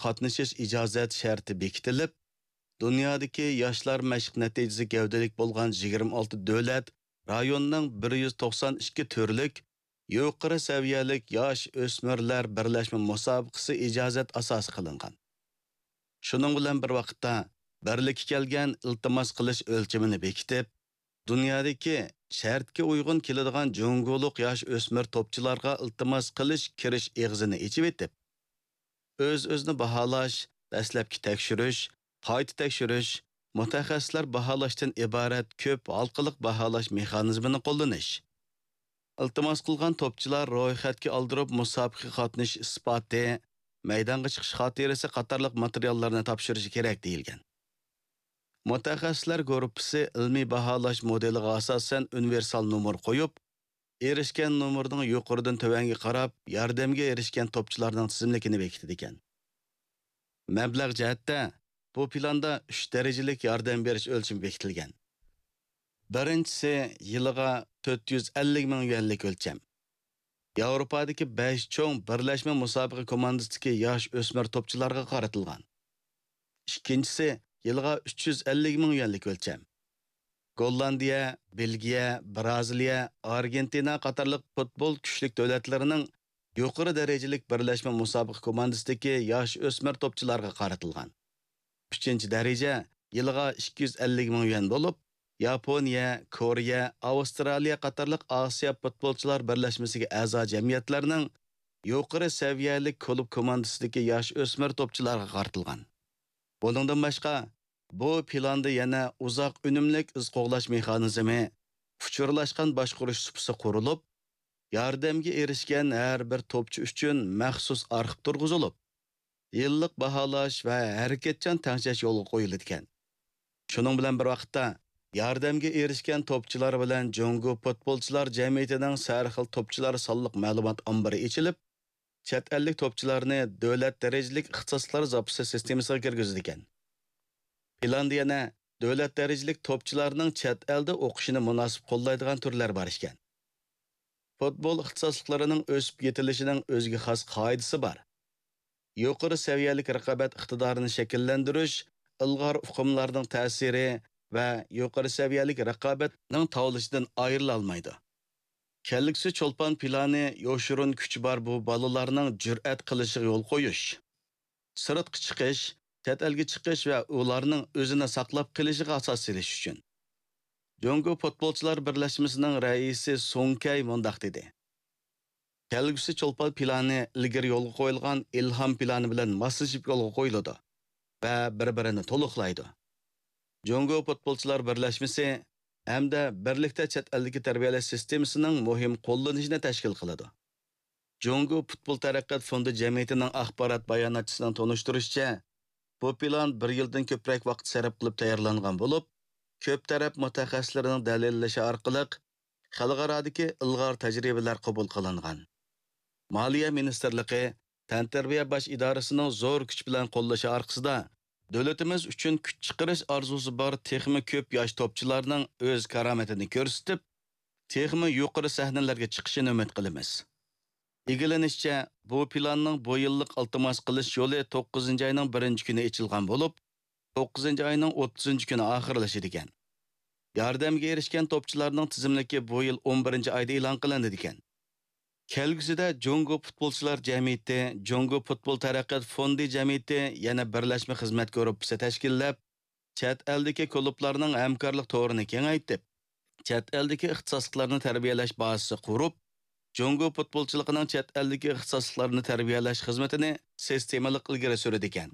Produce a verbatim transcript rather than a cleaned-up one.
قاتنىشىش ئىجازەت شەرتى بېكىتىلىپ، دۇنيادىكى ياشلار مەشىق نەتىجىسى گەۋدىلىك بولغان يىگىرمە ئالتە دۆلەت، رايوننىڭ بىر يۈز توقسان ئىككى تۈرلۈك يۇقىرى سەۋىيەلىك ياش ئۆسمۈرلەر بىرلەشمە مۇسابىقىسى ئىجازەت ئاساسى قىلىنغان. شۇنىڭ بىلەن بىر ۋاقىتتا، بىرلىككە كەلگەن ئىلتىماس قىلىش ئۆلچىمىنى بېكىتىپ، دۇنيادىكى شەرتكە ئۇيغۇن كېلىدىغان جۇڭگولۇق ياش ئۆسمۈر توپچىلارغا ئىلتىماس قىلىش كىرىش ئېغىزىنى ئېچىۋېتىپ، ئۆز-ئۆزىنى باھالاش، دەسلەپكى تەكشۈرۈش، قايتا تەكشۈرۈش، مۇتەخەسسىسلەر باھالاشتىن ئىبارەت كۆپ ھالقىلىق باھالاش مېخانىزمىنى قوللىنىش. ئىلتىماس قىلغان توپچىلار رويخەتكە ئالدۇرۇپ مۇسابىقىگە قاتنىشىش ئىسپاتى، مەيدانغا چىقىش خاتىرىسى قاتارلىق ماتېرىياللارنى تاپشۇرۇشى كېرەك دېيىلگەن. مۇتەخەسسىسلەر گۇرۇپپىسى ئىلمىي باھالاش مودېلىغا ئاساسەن ئۇنىۋېرسال نومۇر قويۇپ، ئېرىشكەن نومۇرنىڭ يۇقىرىدىن تۆۋەنگە قاراپ ياردەمگە ئېرىشكەن توپچىلارنىڭ تىزىملىكىنى بېكىتىدىكەن. مەبلەغ جەھەتتە بۇ پىلاندا ئۈچ دەرىجىلىك ياردەم بېرىش ئۆلچىمى بېكىتىلگەن. بىرىنچىسى يىلىغا تۆت يۈز ئەللىك مىڭ يۈەنلىك ئۆلچەم. ياۋروپادىكى بەش چوڭ بىرلەشمە مۇسابىقە كوماندىسىدىكى ياش ئۆسمۈر توپچىلارغا قارىتىلغان. ئىككىنچىسى يىلىغا ئۈچ يۈز ئەللىك مىڭ يۈەنلىك ئۆلچەم. گوللاندىيە، بېلگىيە، بىرازىلىيە، ئارگېنتىنا قاتارلىق پۇتبول كۈچلۈك دۆلەتلىرىنىڭ يۇقىرى دەرىجىلىك بىرلەشمە مۇسابىقە كوماندىسىدىكى ياش ئۆسمۈر توپچىلارغا قارىتىلغان. ئۈچىنچى دەرىجە يىلىغا ئىككى يۈز ئەللىك مىڭ يۈەن بولۇپ، ياپونىيە، كورېيە، ئاۋسترالىيە قاتارلىق ئاسىيا پۇتبولچىلار بىرلەشمىسىگە ئەزا جەمئىيەتلەرنىڭ يۇقىرى سەۋىيەلىك كۇلۇب كوماندىسىدىكى ياش ئۆسمۈر توپچىلارغا قارىتىلغان. بۇنىڭدىن باشقا، بۇ پىلاندا يەنە ئۇزاق ئۈنۈملۈك ئىز قوغلاش مېخانىزمى، ئۇچۇرلاشقان باشقۇرۇش سۇپىسى قۇرۇلۇپ، ياردەمگە ئېرىشكەن ھەر بىر توپچى ئۈچۈن مەخسۇس ئارخىپ تۇرغۇزۇلۇپ، يىللىق باھالاش ۋە ھەرىكەتچان تەڭشەش يولغا قويۇلىدىكەن. شۇنىڭ بىلەن بىر ۋاقىتتا، ياردەمگە ئېرىشكەن توپچىلار بىلەن جۇڭگو پۇتبولچىلار جەمئىيىتىنىڭ سەرخىل توپچىلار سانلىق مەلۇمات ئامبىرى ئېچىلىپ، چەت ئەللىك توپچىلارنى دۆلەت دەرىجىلىك ئىختىساسلىقلار زاپىسى سىستېمىسىغا كىرگۈزىدىكەن. پىلاندا يەنە دۆلەت دەرىجىلىك توپچىلارنىڭ چەت ئەلدە ئوقۇشىنى مۇناسىپ قوللايدىغان تۈرلەر بار ئىكەن. پۇتبول ئىختىساسلىقلىرىنىڭ ئۆسۈپ يېتىلىشىنىڭ ئۆزىگە خاس قائىدىسى بار. يۇقىرى سەۋىيەلىك رىقابەت ئىقتىدارىنى شەكىللەندۈرۈش، ئىلغار ئۇقۇملارنىڭ تەسىرى ۋە يۇقىرى سەۋىيەلىك رىقابەتنىڭ تاۋلىشىدىن ئايرىلالمايدۇ. كەلگۈسى چولپان پىلانى يوشۇرۇن كۈچى بار بۇ بالىلارنىڭ جۈرئەت قىلىشىغا يول قويۇش، سىرتقا چىقىش، چەت ئەلگە چىقىش ۋە ئۇلارنىڭ ئۆزىنى ساقلاپ قېلىشىغا ئاساس سېلىش ئۈچۈن. جۇڭگو پۇتبولچىلار بىرلەشمىسىنىڭ رەئىسى سۇڭ كەي مۇنداق دېدى: كەلگۈسى چولپان پىلانى ئىلگىرى يولغا قويۇلغان ئىلھام پىلانى بىلەن ماسلىشىپ يولغا قويۇلىدۇ ۋە بىر-بىرىنى تولۇقلايدۇ. جۇڭگو پۇتبولچىلار بىرلەشمىسى ھەمدە بىرلىكتە چەت ئەلدىكى تەربىيەلەش سىستېمىسىنىڭ مۇھىم قوللىنىشىنى تەشكىل قىلىدۇ. جۇڭگو پۇتبول تەرەققىيات فوندى جەمئىيىتىنىڭ ئاخبارات باياناتچىسىنىڭ تونۇشتۇرۇشىچە، بۇ پىلان بىر يىلدىن كۆپرەك ۋاقىت سەرپ قىلىپ تەييارلانغان بولۇپ، كۆپ تەرەپ مۇتەخەسسىسلىرىنىڭ دەلىللىشى ئارقىلىق خەلقئارادىكى ئىلغار تەجرىبىلەر قوبۇل قىلىنغان. مالىيە مىنىستىرلىقى، تەنتەربىيە باش ئىدارىسىنىڭ زور كۈچ بىلەن قوللىشى ئارقىسىدا، دۆلىتىمىز ئۈچۈن كۈچ چىقىرىش ئارزۇسى بار تېخىمۇ كۆپ ياش توپچىلارنىڭ ئۆز كارامىتىنى كۆرسىتىپ، تېخىمۇ يۇقىرى سەھنىلەرگە چىقىشىنى ئۈمىد قىلىمىز. ئىگىلىنىشىچە، بۇ پىلاننىڭ بۇ يىللىق ئىلتىماس قىلىش يولى توققۇزىنچى ئاينىڭ بىرىنچى كۈنى ئېچىلغان بولۇپ، توققۇزىنچى ئاينىڭ ئوتتۇزىنچى كۈنى ئاخىرلىشىدىكەن. ياردەمگە ئېرىشكەن توپچىلارنىڭ تىزىملىكى بۇ يىل ئون بىرىنچى ئايدا ئېلان قىلىنىدىكەن. كەلگۈسىدە جۇڭگو پۇتبولچىلار جەمئىيىتى، جۇڭگو پۇتبول تەرەققىيات فوندى جەمئىيىتى يەنە بىرلەشمە خىزمەت گۇرۇپپىسى تەشكىللەپ، چەت ئەلدىكى كۇلۇبلارنىڭ ھەمكارلىق تورىنى كېڭەيتىپ، چەت ئەلدىكى ئىختىساسلىقلارنى تەربىيەلەش بازىسى قۇرۇپ، جۇڭگو پۇتبولچىلىقىنىڭ چەت ئەلدىكى ئىختىساسلىقلارنى تەربىيەلەش خىزمىتىنى سىستېمىلىق ئىلگىرى سۈرىدىكەن.